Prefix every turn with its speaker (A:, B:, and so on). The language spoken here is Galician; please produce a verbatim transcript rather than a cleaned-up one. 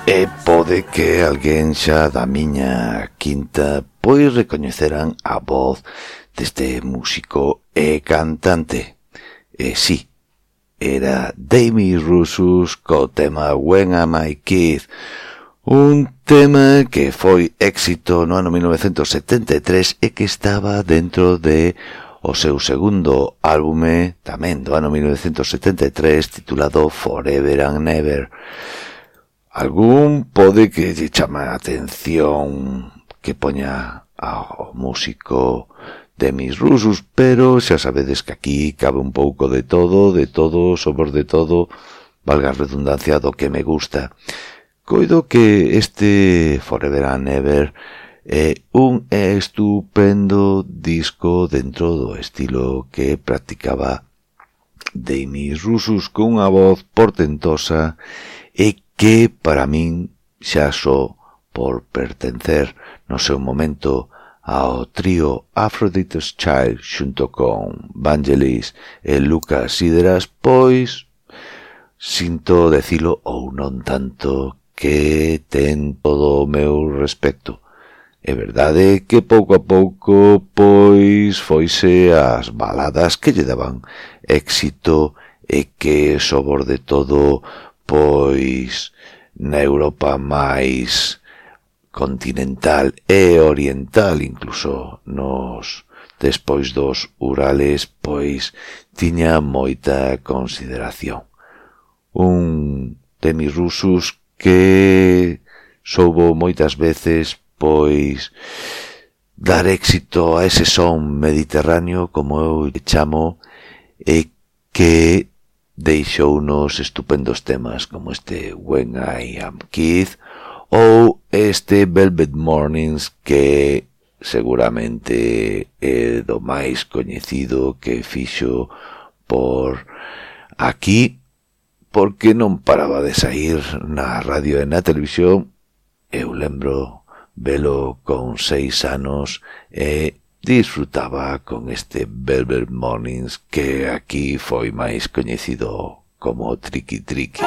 A: E pode que alguén xa da miña quinta pois recoñeceran a voz deste músico e cantante. E si, era Demis Roussos co tema When Am I Kid, un tema que foi éxito no ano mil novecentos setenta e tres e que estaba dentro de o seu segundo álbume, tamén do ano mil novecentos setenta e tres, titulado Forever and Never. Algún pode que lle chama a atención que poña ao músico Demis Roussos, pero xa sabedes que aquí cabe un pouco de todo, de todo, sobre de todo, valga a redundancia, do que me gusta. Coido que este Forever and Never é un estupendo disco dentro do estilo que practicaba Demis Roussos, con unha voz portentosa e que para min xa só por pertencer no seu momento ao trío Aphrodite's Child xunto con Vangelis e Lucas Sideras, pois sinto decilo ou non tanto que ten todo o meu respecto. É verdade que pouco a pouco pois foise as baladas que lle daban éxito e que sobre todo pois na Europa máis continental e oriental, incluso nos despois dos Urales, pois tiña moita consideración. Un Demis Roussos que soubo moitas veces pois dar éxito a ese son mediterráneo, como eu lle chamo, e que deixou unos estupendos temas como este When I Am Kid ou este Velvet Mornings, que seguramente é do máis coñecido que fixo por aquí, porque non paraba de saír na radio e na televisión. Eu lembro velo con seis anos e disfrutaba con este Velvet Mornings, que aquí foi máis coñecido como Tricky Tricky.